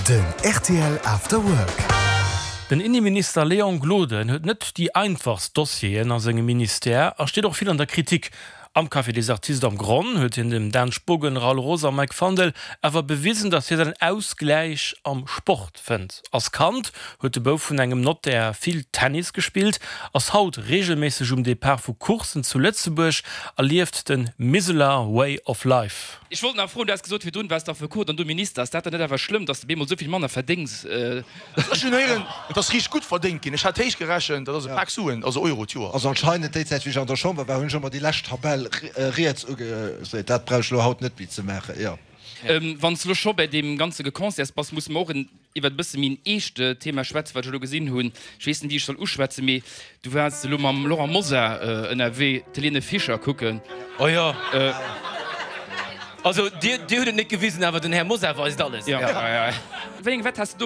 Den rtl After Work. Den Inneminister Léon Gloden huet net déi einfachst Dossieren a sengem Ministère a steet och vill an der Kritik. Am Café des Artistes am Gronn huet hien dem Dan Spogen, Raoul Roos a Mike Fandel awer bewisen, datt hie säin Ausgläich am Sport fënnt. Als Kand huet de Bouf vun engem Nottär vill Tennis gespillt, ass haut reegelméisseg um Depart vu Courssen zu Lëtzebuerg a lieft de Miseler Way of Life. Ech wollt nach froen, du has gesot virdrun, waars d'Affekot an du Minister, ass dat dann net awer schlëmm, dass de bemol esou vill manner verdéngs? Ech hunn héieren, et ass riicht gutt verdéngt ginn. Ech hat héich gerechent, dat ass e Pak Suen, also Euro d'Joer. Also anscheinend déi Zäit wéi ech an der Chamber war, hunn ech ëmmer déi lescht Tabell riets ugeseet. Dat brauch ech elo haut net méi ze maachen, jo. Wann s de elo scho bäi deem ganze Geconcerts bass, musse mer och iwwer e bësse méi en eescht Thema schwätzen, wat ech elo gesinn hunn. Ech weess net, wéi ech soll uschwätzen, mee du waars elo mam Laurent Mosar ënnerwee d'Helene Fischer kucken. Oh jo. Also Dir, Dir hutt et net gewisen, awer den Här Mosar weist alles. Jo. Wéi eng Wett has de do?